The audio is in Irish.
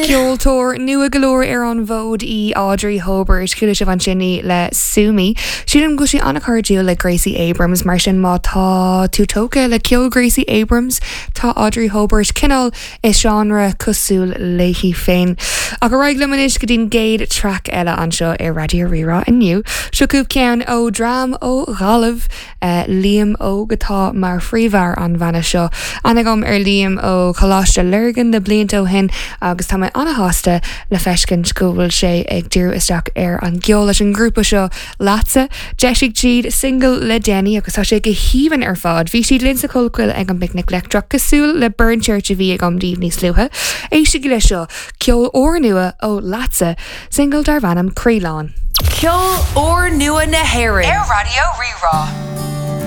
Ceoltóir nua go leor ar an bhfód í Audrey Hobert. Chuala sibh ansin í le Sue Me. Sílim go bhfuil sí an-chairdiúil le Gracie Abrams, mar sin má tá tú tógtha le ceol Gracie Abrams, tá Audrey Hobert cineál i seánra cosúil léi féin. Ach ar aghaidh liom anois go dtí'n gcéad traic eile anseo ar Raidió Rí-Rá inniu. Seo chugaibh ceann ó dhream ó Ghaillimh. Liam Óg atá mar phríomhfhear an bhanna seo. Aithne agam ar Liam ó Choláiste Lurgan na blianta ó shin agus tá mé an-shásta le feiscint go bhfuil sé ag díriú isteach ar an gceol leis an ngrúpa seo Leatsa. D'eisigh siad singil le déanaí agus tá sé go haoibhinn ar fad. Bhí siad linn sa Chollchoill ag an bPicnic Leictreach cosúil le Burn Church a bhí agam daoibh níos luaithe. Éistigí leis seo, ceol úrnua ó Leatsa! Singil darb ainm Croílán. Ceol úrnua na hÉireann. Ar Raidió Rí-Rá.